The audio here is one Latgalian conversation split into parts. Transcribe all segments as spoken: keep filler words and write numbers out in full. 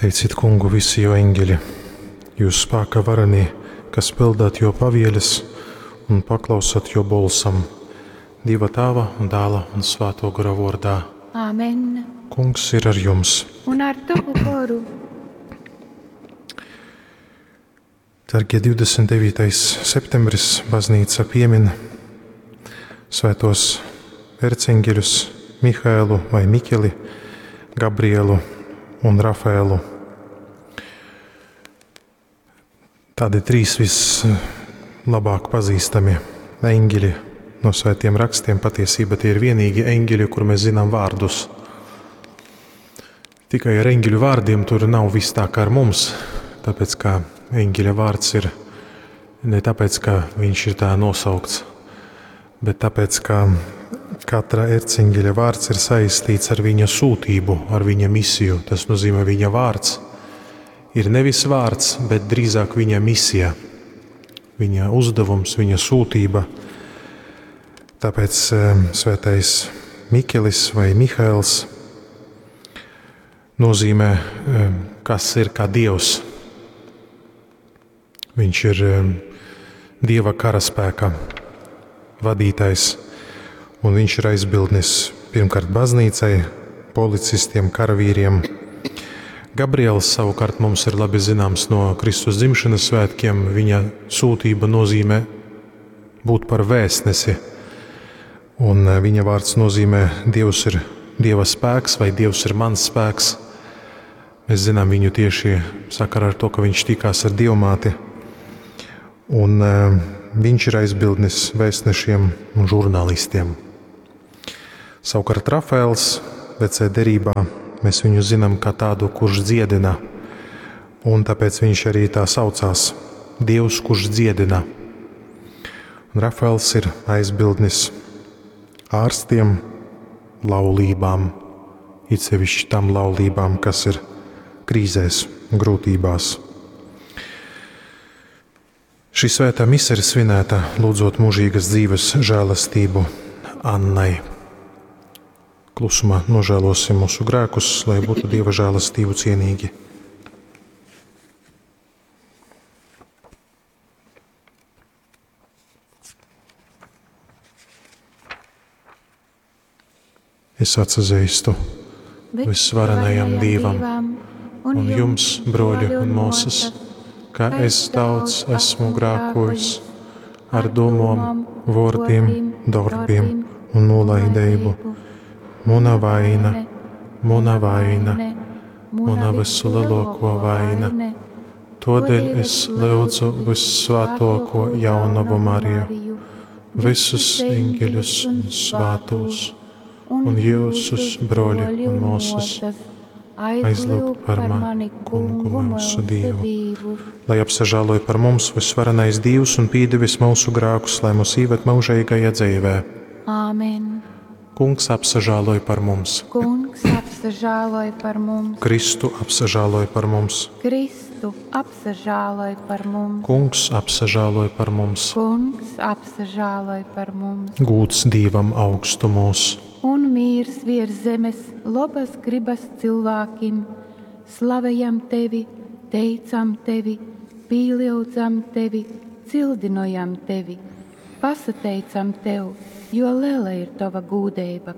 Teicit kungu visi jo eņģeļi, jūs spāka varenī, kas pildāt jo pavieles un paklausat jo bolsam. Dieva tāva un dāla un svāto gora vordā. Āmen. Kungs ir ar jums. Un ar tavu goru. Dargie divdesmit devītais septembris baznīca piemin svētos erceņģeļus Mihaelu vai Mikeli, Gabrielu un Rafaelu. Tādi trīs vislabāk pazīstami eņģeļi no svētiem rakstiem. Patiesībā tie ir vienīgi eņģeļi, kur mēs zinām vārdus. Tikai ar eņģeļu vārdiem tur nav viss tā kā ar mums, tāpēc ka eņģeļa vārds ir ne tāpēc, ka viņš ir tā nosaukts, bet tāpēc, ka katra erceņģeļa vārds ir saistīts ar viņa sūtību, ar viņa misiju. Tas nozīmē, viņa vārds ir nevis vārds, bet drīzāk viņa misija, viņa uzdevums, viņa sūtība. Tāpēc, eh, svētais Mikelis vai Mihaels nozīmē, eh, kas ir kā Dievs. Viņš ir, eh, Dieva karaspēka vadītājs, un viņš ir aizbildnis pirmkārt baznīcai, policistiem, karavīriem. Gabriels savukārt mums ir labi zināms no Kristus dzimšanas svētkiem. Viņa sūtība nozīmē būt par vēstnesi, un, eh, viņa vārds nozīmē Dievs ir Dieva spēks vai Dievs ir mans spēks. Mēs zinām viņu tieši sakarā ar to, ka viņš tikās ar Dievmāti. Un, eh, viņš ir aizbildnis vēstnešiem un žurnālistiem. Savukārt Rafaels vecajā derībā mēs viņu zinām kā tādu, kurš dziedina, un tāpēc viņš arī tā saucās – Dievs, kurš dziedina. Un Rafaels ir aizbildnis ārstiem, laulībām, it sevišķi tam laulībām, kas ir krīzēs un grūtībās. Šī svētā mise ir svinēta, lūdzot mūžīgas dzīves žēlastību Annai. Klusumā nožēlosim mūsu grēkus, lai būtu Dieva žēlastību cienīgi. Es atsazīstu visvarenajam Dievam un jums, broļi un māsas, ka es daudz esmu grēkojis ar domām, vārdiem, darbiem un nolaidību. Muna vaina, muna vaina, muna visu lielāko vaina. Todēļ es lūdzu vissvētāko jaunavu Mariju, visus eņģeļus un svētos, un jūsus, broļi un māsas, aizlūgt par mani, Kungu mūsu Dievu. Lai apsažāloja par mums visvarenais Dievs un pīdevis mūsu grēkus, lai mūs īvet mūžīgajā dzīvē. Āmen. Kungs apsažāloja par mums. Kungs apsažāloja par mums. Kristu apsažāloja par mums. Kristu apsažāloja par mums. Kungs apsažāloja par mums. Kungs apsažāloja par mums. Gūds Dievam augstumos. Un mīrs virs zemes labas gribas cilvēkim. Slavējam tevi, teicam tevi, pīliaudzam tevi, cildinojam tevi. Pasateicam tev, jo liela ir tava gūdeiba,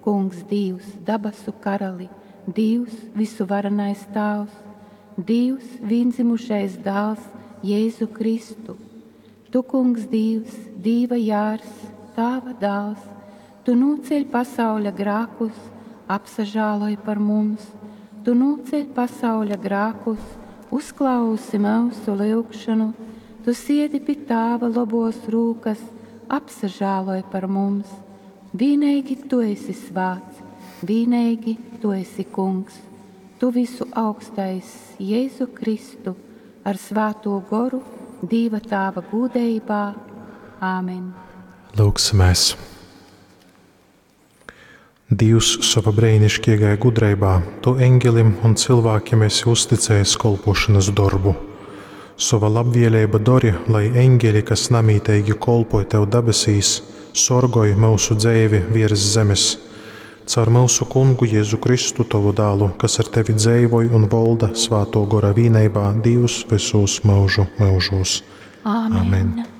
Kungs Dievs, dabasu karali, Dievs, visuvarenais Tēvs, Dievs, vienzimušais dēls, Jēzu Kristu. Tu, Kungs Dievs, Dieva jārs, Tava dēls, tu nūceļ pasauļa grākus, apsažāloj par mums. Tu nūceļ pasauļa grākus, uzklausi mūsu lūgšanu. Tu siedi pie Tāva lobos rūkas, apsažāloj par mums. Vienīgi tu esi svāts, vienīgi tu esi kungs. Tu visu augstais Jēzu Kristu ar svāto goru Dieva Tāva gūdeibā. Āmen. Lūgsimies. Dievs sava brēnišķīgajā gudrībā, tu eņģelim un cilvēkiem esi uzticējis kolpošanas darbu. Sava labvēlība dori, lai eņģeļi, kas namītīgi kolpoja tev debesīs, sorgoj mūsu dzēvi virs zemes. Caur myusu Kungu Jezu Kristu, Tovu Dālu, kas ar Tevi dzeivoj un volda Svātō Gora vīneibā, Dīvs vysūs myužu myužūs. Āmen. Amen.